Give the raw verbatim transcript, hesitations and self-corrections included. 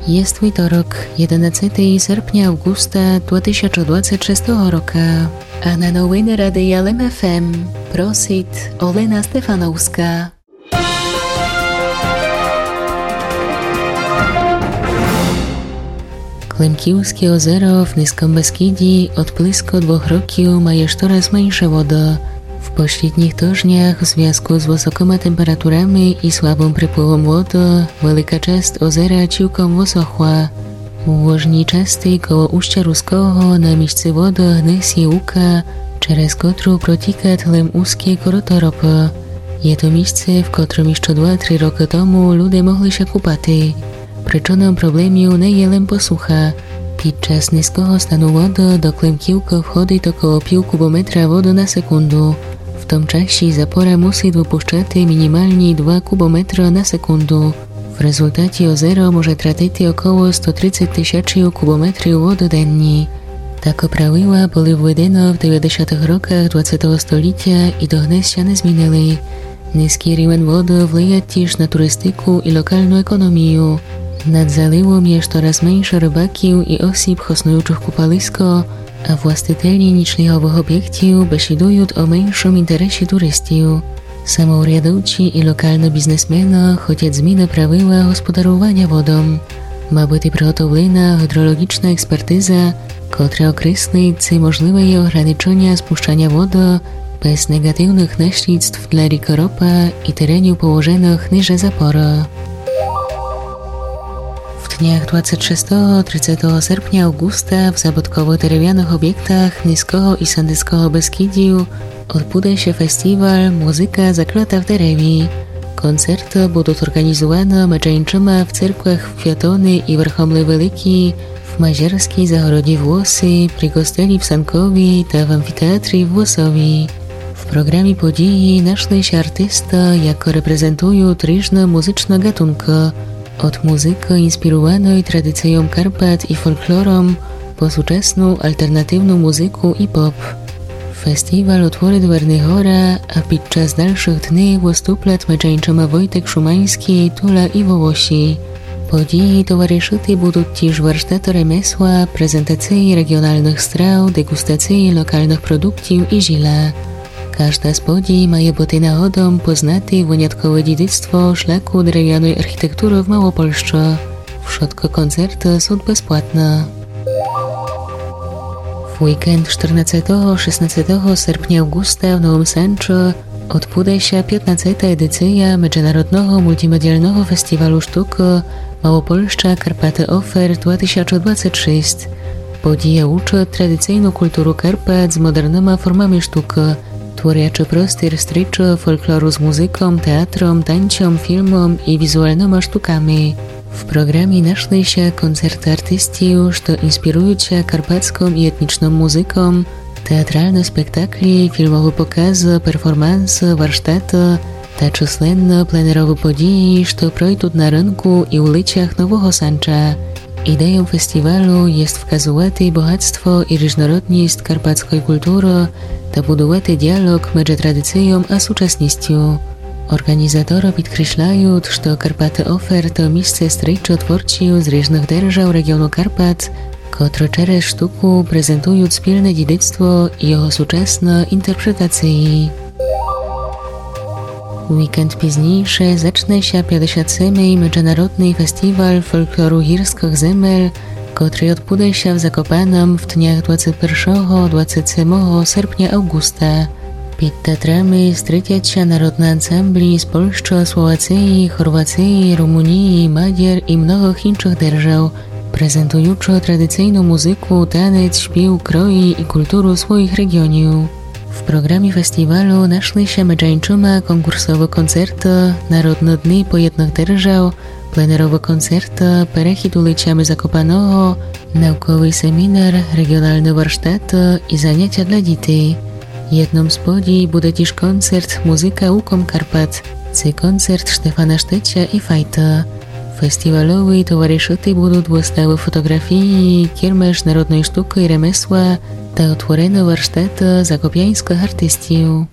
Єст вівторок, єденадцетого серпня авґуста дві тисячі двадцять шестого рока. А на новины Радия Лем ФМ просит Олена Стефановска. Клемківске озеро в Низком Бескідї од близко двох років має штораз менше воды. В послїднїх тыжнях в звязку з высокыма температурами і слабым приплывом воды велика часц озера цілком высохла. У вожній часци коло Устя Руского на місци воды гнись лука, через котру протікат лем узке корыто Ропы. Є то місце, в котрым іщы два-три рокы тому люде могли ся купати. Причыном проблемів не є лем посуха. Під час низкого стану воды до Клемківкы входит около пів кубометра воды на секунду. В том часі запора мусит выпущати мінімалні два кубометра на секунду. В резултаті озеро може тратити около сто тридцять тисячів кубометрів воды денні. Такы правила были введены в девятдесятых роках двадцятого столітя і догнес ся не змінили. Низкій рівень воды вливат тіж на туристику і локалну економію. Над заливом є штораз менше рыбаків і осіб, хоснуючых купалиско, а властителі нічліговых обєктів бесідуют о меншым інтересі туристів. Самоурядовці і локалны бізнесмены хотят зміны правила господаруваня водом. Ма быти приготовлена гідролоґічна експертиза, котра окреслит, ци можливе є ограничыня спущаня воды без неґативных наслідств для рікы Ропа і теренів, положеных ниже запоры. В днях двадцять шестого, тридцятого серпня, авґуста в забытковых деревяных обєктах Низкого і Сандыцкого Бескідів одбуде ся фестіваль Музыка заклята в дереві. Концерты будут орґанізувані медже іншыма в церквах в Фіатони і Верхомлі Великій, в Мазерскій загороді в Лоси, при костелі в Санкові та в амфітеатрі в Лосові. В програмі події нашли ся артисты, якы репрезентуют ріжны музычны ґатункы. Од музыкы, інспіруваной традицийом Карпат і фолклором, по сучасну алтернативну музыку і поп. Фестіваль утворит Верни Гора, а під час дальшых дни выступлят медже іншыма Войтек Шуманьскій, Тула і Волоші. Події товаришыти будут тіж варштаты ремесла, презентациі реґіоналных страв, деґустациі локалных продуктів і жіла. Кажда з подій має быти нагодом познати выняткове дїдицтво шляку деревяной архітектуры в Малопольщы. Вшыткы концерты сут безплатны. В вікенд штырнадцятого, шестнадцятого серпня, авґуста в Новым Санчы одбуде ся пятнадцята едиція Меджынародного мултімедіалного фестівалу штукы Малопольща Карпаты Офер дві тисячі двадцять шість. Подія єдночасно традицийну культуру Карпат з модерныма формами штукы, творячы простір стрічы фолклору з музыком, театром, танцьом, фільмом і візуалныма штуками. В програмі нашли ся концерты артистів, што інспіруют ся карпатском і етнічном музыком, театралны спектаклі, фільмовы показы, перформансы, варштаты та чысленны пленеровы події, што пройдут на рынку і улицях Нового Санча. Ідейом фестівалу єст вказувати богатство і ріжнородніст карпатской культуры та будувати діалоґ меджы традицийом а сучасністю. Орґанізаторы підкресляют, што Карпаты Офер то місце стрічы творців з ріжных держав реґіону Карпат, котры через штуку презентуют спільне дїдицтво і його сучасны інтерпретациі. Вікенд пізнійше зачне ся пятдесят семый Меджынародный фестіваль фолклору гірскых земель, котрый одбуде ся в Закопаном в днях двадцять першого, двадцять семого серпня, авґуста. Під театрами стрітят ся народны ансамблі з Польщы, Словациі, Хорвациі, Румуніі, Мадяр і многых іншых держав, презентуючы традицийну музыку, танець, шпів, крої і культуру своіх реґіонів. В програмі фестівалу нашли ся меджы іншыма конкурсовы концерты, народны дни поєдных держав, пленеровы концерты, перехід улицями Закопаного, науковый семінар, реґіоналны варштаты і занятя для дітей. Єдным з подій буде тіж концерт Музыка уком Карпат. Ци концерт Штефана Штеця і Файта. Фестівалови товаришыти будут выставы фотоґрафії, кірмаш народной штукы і ремесла та отворены варштаты закопяньскых артистів.